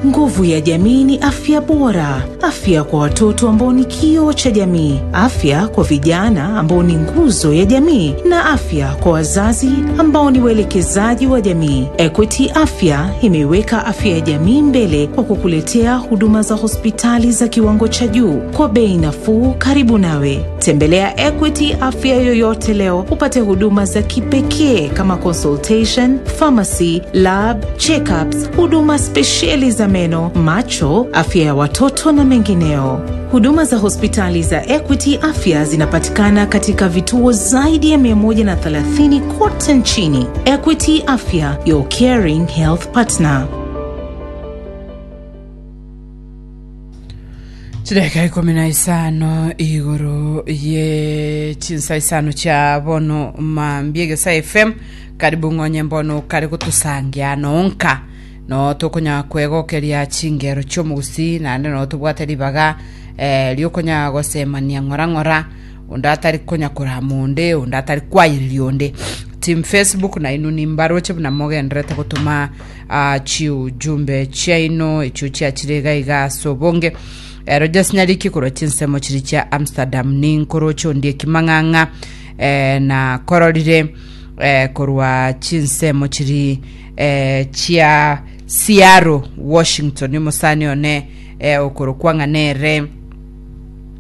Nguvu ya jamii ni afya bora, afya kwa watoto ambao ni kioo cha jamii, afya kwa vijana ambao ni nguzo ya jamii, na afya kwa wazazi ambao ni waelekezaji wa jamii. Equity Afya imeiweka afya ya jamii mbele kwa kukuletea huduma za hospitali za kiwango cha juu kwa bei nafuu, karibu nawe. Tembelea Equity Afya yoyote leo upate huduma za kipekee kama consultation, pharmacy, lab, checkups, huduma spesheli za meno, macho, afya ya watoto na mengineo. Huduma za hospitali za Equity Afya zinapatikana katika vituo zaidi ya 130 kote nchini. Equity Afya, your caring health partner. Chidakika ikomi na isano igoro ye chinsa isano chia bono mambia Egesa FM karibu ng'onye mbono kare gotosangia nonka no tokonya kwegokeria chingero chi'omogusii naende no tobwate ribaga eh, riokonya gosemania ng'ora ng'ora onde atari konya korama onde onde atari kwayereria onde team facebook nainwe nimbaroche buna mogenderete gotoma ah, chiujumbe chiaino echio chiachire iga iga ase obonge Eh, Rogers Nyariki korwa chinsemo chiri chia Amsterdam ninkoroche ondie kimang'ang'a eh, na kororire eh, korwa chinsemo chiri eh, chia Seattle Washington omosani one eh, okorokwa ng'a nere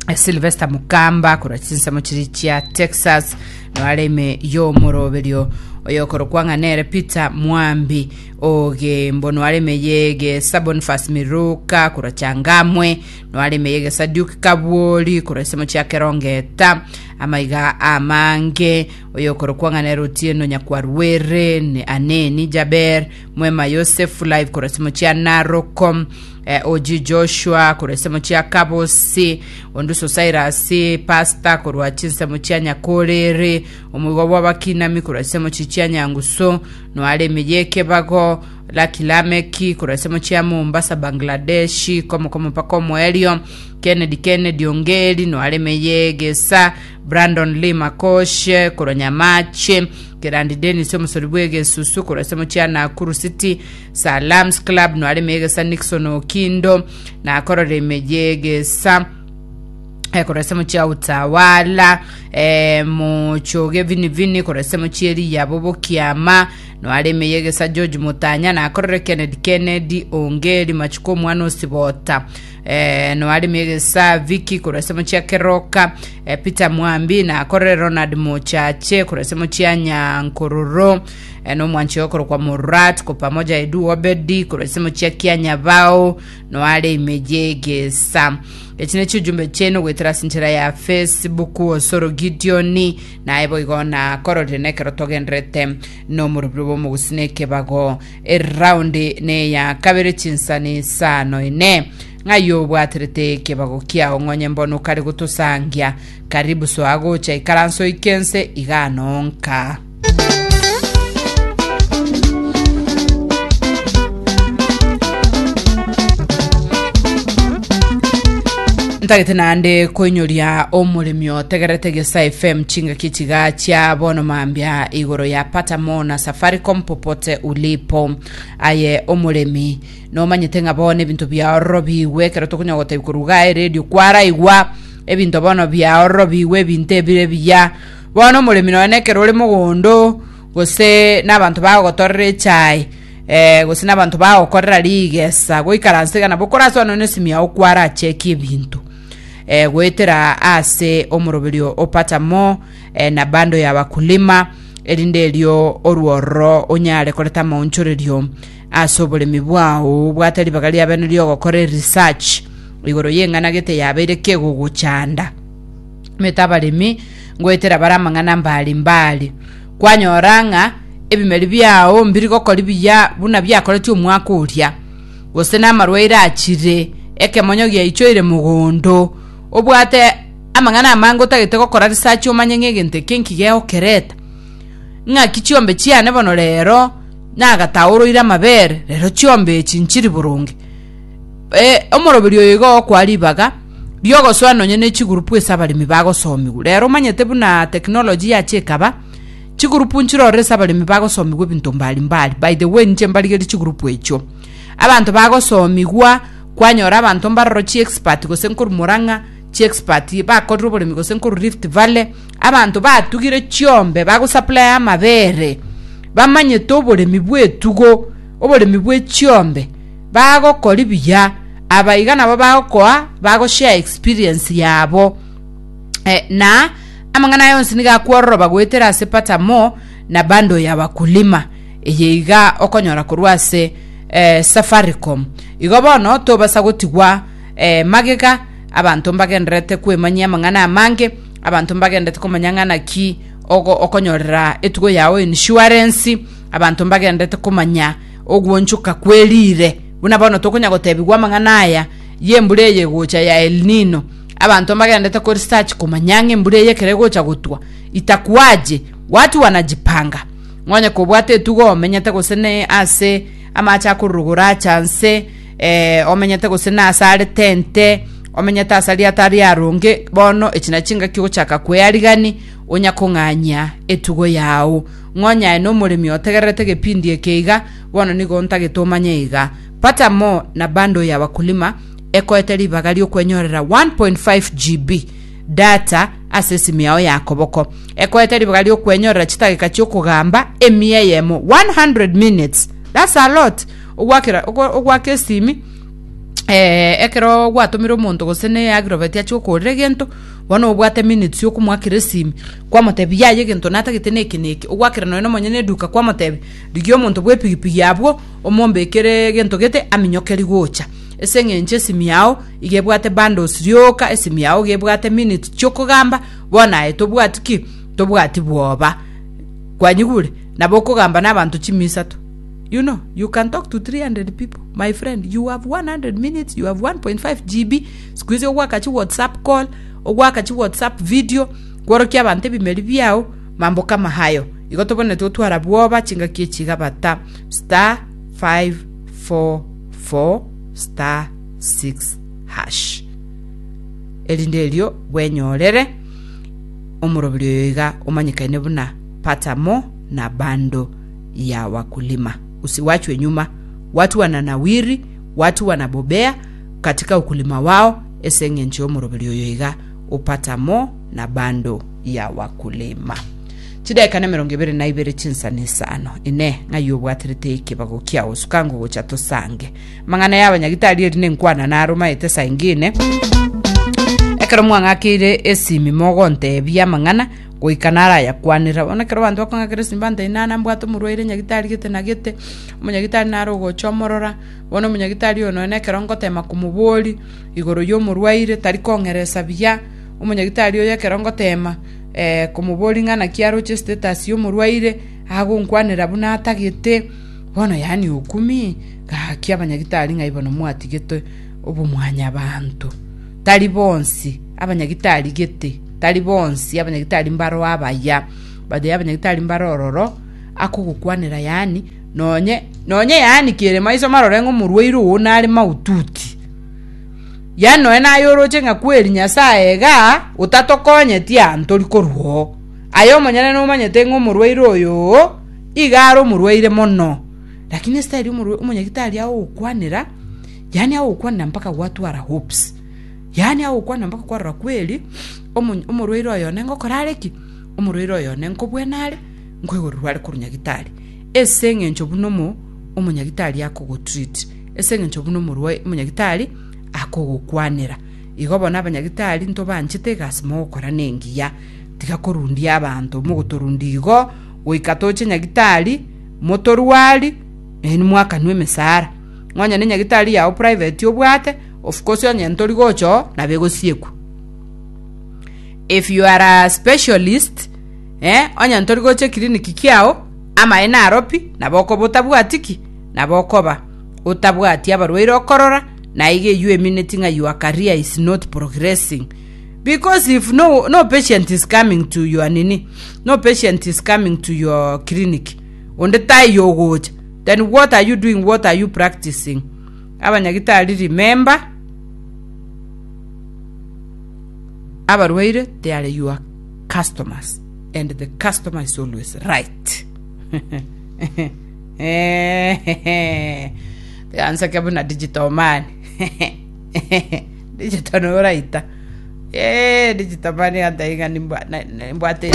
eh, Sylvester Mukamba korwa chinsemo chiri chia Texas noare ime y'omoroberio oyokorokwa ng'a nere Peter Mwambi ogembo noare ime y'egesa Boniface Miruka korwa Changamwe noare ime y'egesa Duke Kabwori korwa ensemo chia Kerongeta amaiga amange oyokorokwa ng'a nere Otieno Nyakwarwere ne Aneni Jaber Mwema Yosefu live korwa ensemo chia Naroko eh, OG Joshua korwa ensemo chia Kabosi Onduso Cyrus Pastor korwa chinsemo chia Nyakorere Omoigwa bw'abakinami korwa ensemo chia Nyangusu Noare ime y'ekebago Lucky Lameki korwa ensemo chia Mombasa Bangladesh komo komo mpaka omoerio Kennedy Kennedy Ongeri noare ime y'egesa Brandon Lee Makoshe korwa Nyamache Kerandi Dennis omosori bw'egesusu korwa ensemo chia Nakuru City Salams Club noare ime y'egesa Nixon Okindo nakorora ime y'egesa eh, korwa ensemo chia Utawala eh, Mochoge Vini Vini korwa ensemo chia Eliya Bobokiama noare ime y'egesa George Mutanya nakorore Kennedy Kennedy Ongeri Machuko omwana Osibota eh, noare ime y'egesa Vicky korwa ensemo chia Keroka eh, Peter Mwambi nakorore Ronald Mochache korwa ensemo chia Nyankororo eh, nomwanchi okorokwa Murat ko pamoja Edu Obedi korwa ensemo chia Kianyabao noare ime y'egesa Echi nechiujumbe chiaino goetera ase enchera ya Facebook Osoro Gideon naye boigo nakororire nekero togenderete nomorobiro bw'omogusi nekebago eround neya kabere chinsani isano ine ng'ai obwaterete ekebago kiao ng'onye mbono kare gotosangia karibu soa gocha ikaranso oike ense iga nonka. Ntagete naende koinyoria omoremi otegerete Gesa FM chingaki chiga chia bono mambia igoro ya pata mo na Safaricom popote ulipo. Aye omoremi nomanyete ng'a bono ebinto biaororobigwe ekero tokonya gotebi korwa igaa eredio kwaraigwa ebinto bono biaororobigwe ebinto ebire ebiya Bono omoremi nonya nekero ore mogondo, gose nabanto bagogotorera echae, eh, gose nabanto bagokorera rigesa, goikaransa iga nabo korasoe nonya nesimi yao kwarachekie ebinto. Eh, goetera ase omoroberio o Pata More eh, na bando ya wakulima, erinde erio orwororo onyare koreta amaonchorerio ase oboremi bwao, obwate ribaga ria bene riogokora eresearch igoro y'eng'ana gete yabeire kegogochanda. Omanyete abaremi ngoetera bare amang'ana mbari mbari, kwanyora ng'a ebimeri biao mbiri gokori buya buna biakoretie omwaka oria, gose namarwaire achire, ekemonyo giaichoire mogondo, obwate amang'ana amange otagete gokora research omanye ng'a egento eke nki gegokereta. Ng'aki chiombe chiane bono rero nagataoroire amabere, rero chiombe echi nchiri boronge. Omoroberi oyo igo ogokoa ribaga riogosoa nonye ne chigurupu ase abaremi bagosomigwa. Rero omanyete buna technology yacha ekaba, Chigurupu nchirore ase abaremi bagosomigwa ebinto mbari mbari. By the way inche mbarigerie chigurupu echio. Abanto bagosomigwa, kwanyora abanto mbaroro chiexpert gose nkorwa Murang'a, chiexpert bakorire oboremi gose nkorwa Rift Valley, abanto batugire chiombe bagosupply amabere, bamanyete oboremi bw'etugo, oboremi bwe chiombe, bagokori buya, aba iga nabo bagokoa bagoshare experience yabo. Eh, na amang'ana aya onsi nigo akwororoba goetera ase Patamo na bando ya wakulima eye iga okonyora korwa ase eh, Safaricom. Igo bono tobasa gotigwa eh, magega abanto mbagendererete kwemanyia amang'ana amange abanto mbagendererete komanya ng'a naki ogo okonyorera etugo yao insurance abanto mbagendererete komanya ogwonchoka kwerire buna bono tokonya gotebigwa amang'ana aya y'embura eye egocha ya El Nino Abanto mbagenderete ko research komanya ng'a embura eye ekero egocha gotwa itakuaje, watu wanajipanga. Ng'onye kobwate etugo omenyete gose ne ase amache akorurugura acha nse eh, omenyete gose na ase are tente, omenyete ase aria atari aronge, bono echi nachi chingaki ogochaka kwearigani onya kong'anyia etugo yao. Ng'onye aye na omoremi otegererete egepindi eke iga, bono nigo ntagete omanye iga. Pata more na bundle ya wakulima ekoete ribaga ri'okwenyorera 1.5 GB data ase esimi yao ya koboko. Ekoete ribaga ri'okwenyorera chitageka chi'okogamba emia eyemo, 100 minutes. That's a lot. Ogwakera ogo- ogwaka esimi eh, ekero gwatomire omonto gose ne agrovet achie gokorera egento, bono obwate minutes yokomoakera esimi, kwamotebia yaya egento natagete na eke na eke, ogwakera nonya na omonyene eduka kwamotebia, rigia omonto bwa epigipigi abwo, omombekere egento gete aminyokeri gocha. Ase engencho esimi yao iga ebwate bundles rioka, esimi yao iga ebwate minutes chiokogamba, bono aye tobwati ki? Tobwati bwoba. Kwanyigure? Nabo okogamba na abanto chimia isato. You know, you can talk to 300 people, my friend, you have 100 minutes, you have 1.5 GB, siku hizi ogwaka chi whatsapp call, ogwaka chi whatsapp video, kworokia abanto ebimeri biao, mambo kama hayo. Igo tobwenerete gotwara bwoba chingaki echi iga bata star 544 star 6 hash erinde erio bwenyorere omoroberi oyo iga omanyekaine buna pata mo na bando ya wakulima usiwachwe nyuma watu wananawiri watu wanabobea katika ukulima wao ase eng'encho y'omoroberi oyo iga opata mo na bando ya wakulima Chidaeka nemerongo ebere na ibere chinsana isano. Inee, ng'ai obwaterete ekebago kiao? Suka ngogocha tosange. Amang'ana y'abanyagitari eri nenkwana naro maete saingine. Ekero mwang'akeire esimi mogontebia amang'ana, goika narayakwanera. Bono ekero abanto bakong'akera esimi bantebia nana mbwate omorwaire nyagitari gete na gete, omonyagitari naro ogocha omorora, bono omonyagitari oyo nonya ekero ngotema komoboria igoro y'omorwaire tari kong'eresa buya, omonyagitari oyo ekero ngotema komoboria ng'a naki aroche status y'omorwaire, agonkwanera buna atagete, bono yaani okumii, gaki abanyagitari ng'ai bono mwatigete obomwanyabanto. Tari bonsi abanyagitari gete, tari bonsi abanyagitari mbaro abaya, but abanyagitari mbare ororo, akogokwanera yaani nonye nonye yaani kere maiso marore ng'a omorwaire oo nare mahututi. Yaani nonya naye oroche ng'a kweri Nyasae igaa, otatokonyeti aa ntori korwa oo. Aye omonyene nomanyete ng'a omorwaire oyo oo iga are omorwaire mono. Lakini estyle omorwa omonyagitari agogokwanera, yaani agogokwanera mpaka gwatwara hopes. Yaani agogokwanera mpaka kwarora kweri, omo omorwaire oyo one ngokora are ki? Omorwaire oyo one nkobwena are, nkoigorerwa are korwa nyagitari. Ase eng'encho buna omo omonyagitari akogotreat. Ase engencho buna omorwai omonyagitari akogokwanera. Igo bono abanyagitari ntobanchete egasi mogokora nengiya, tiga korundia abanto, mogotorundia igo goika toche nyagitari motorwari nainwe mwakanwe emesara. Onye ne nyagitari yao private obwate, of course onye ntori gocha oo nabo egosiekwa. If you are a specialist eh, onye ntori gocha eclinic kiao, amaene aro pi, nabo okoba otabwati ki? Nabo okoba otabwati abarwaire okorora, na iga eyio emineti ng'a your career is not progressing. Because if no, no patient is coming to your nini, no patient is coming to your clinic, onde taiyo ogocha, then what are you doing, what are you practicing? Abanyagitari remember, abarwaire they are your customers. And the customer is always right. Tiganseke buna digital man. Digital noraita. Eh, digital man yantaiga nimbwa- na- nimbwate.